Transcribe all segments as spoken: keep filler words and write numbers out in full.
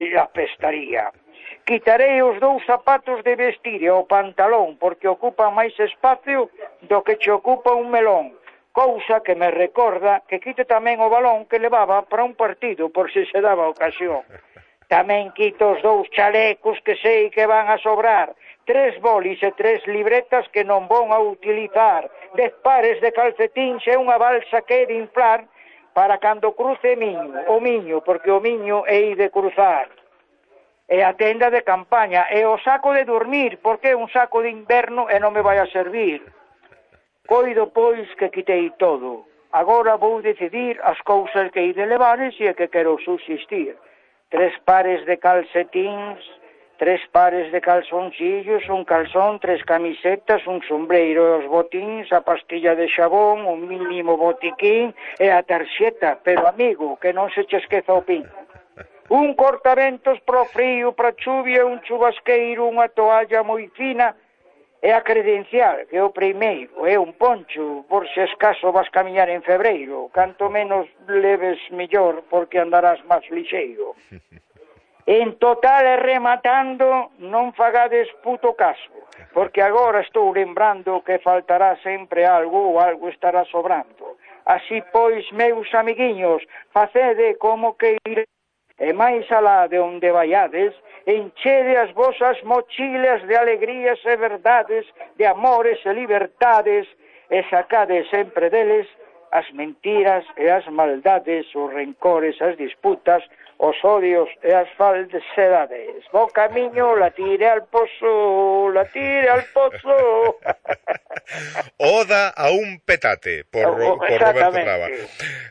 apestaría. Quitarei os dous zapatos de vestir e o pantalón, porque ocupan máis espacio do que che ocupa un melón. Cousa que me recorda que quite tamén o balón que levaba para un partido, por se se daba ocasión. Tamén quito os dous chalecos que sei que van a sobrar, tres bolis e tres libretas que non vão a utilizar, dez pares de calcetíns e unha balsa que he de inflar para cando cruce miño, o miño, porque o miño hei de cruzar. E a tenda de campaña, e o saco de dormir, porque é un saco de inverno e non me vai a servir. Coido, pois, que quitei todo. Agora vou decidir as cousas que hei de levar e se é que quero subsistir. Tres pares de calcetins, tres pares de calzoncillos, un calzón, tres camisetas, un sombreiro, os botins, a pastilla de xabón, un mínimo botiquín e a tarxeta, pero amigo, que non se che esqueza o pin. Un cortaventos pro frío, pra chuvia, un chubasqueiro, unha toalla moi fina e a credencial, que é o primeiro, é un poncho, por se escaso vas camiñar en febreiro. Canto menos leves mellor, porque andarás máis lixeiro. En total e rematando, non fagades puto caso, porque agora estou lembrando que faltará sempre algo ou algo estará sobrando. Así pois, meus amiguiños, facede como que iré. E máis alá de onde vaiades, enchede as vosas mochilas de alegrías e verdades, de amores e libertades, e sacade sempre deles as mentiras e as maldades, os rencores, as disputas, os odios e as falsedades. Bo camiño, la tire al pozo, la tire al pozo. Oda a un petate, por, Ro, por Roberto Traba.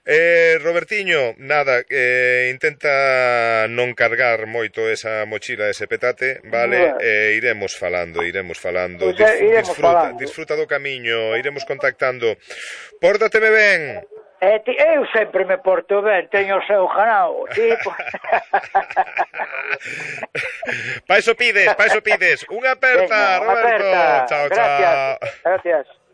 Eh, Robertiño, nada, eh, intenta non cargar moito esa mochila, ese petate, vale? Bueno. Eh, iremos falando, iremos falando. Pues, Dis, iremos disfruta, falando. Disfruta do camiño, iremos contactando. Pórtateme ben. Eh, ti, eu sempre me porto ben, teño o seu ganao, tipo. Pa iso pides, pa iso pides. Unha aperta, Venga, Roberto. Aperta. Chao, Gracias. chao. Gracias.